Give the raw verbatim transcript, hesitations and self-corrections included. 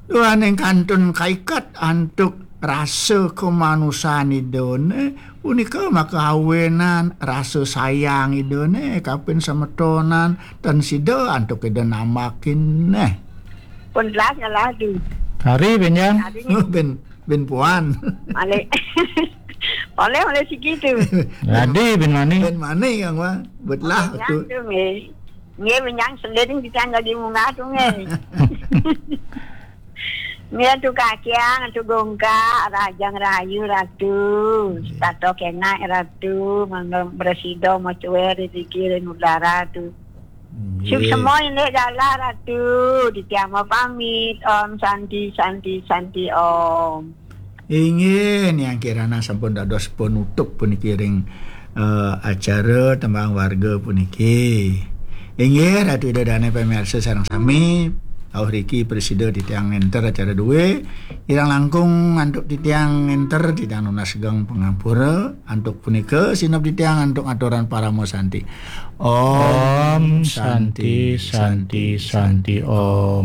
Duaning kantun kaiket antuk rasa kamanusan Idane, punika maka awenan rasa sayang Idane kapin semetonan tan sida antuk Ida nambakin neh. Pun telah nyalah tu. Hari benjang. Hari ni. Bin bin puan. Malik. Oleh oleh siki tu. Jadi bin mani. Bin mani kang wa. Betlah tu. Tu nggih. Nggih, menyang selin kita jadi munggah tu nggih. Nggih, tu kakiang, tu gongkak, rajang rayu ratu, tato kenak ratu, mangga bersida macuer rezeki ring udara tu. Nggih. Suksma indik galah ratu, titiang mapamit. Om Santi, Santi, Santi Om. Inggih, Niang Kirana sampun dados penutup puniki ring eh, acara tembang warga puniki. Inggih, Ratu Ida Dane pamiarsa sareng sami, auh riki prasida titiang ngenter acara due. Kirang langkung antuk titiang ngenter, titiang nunas geng pangampura. Antuk punika sineb titiang antuk aturan parama santi. Om Santi, Santi, Santi Om.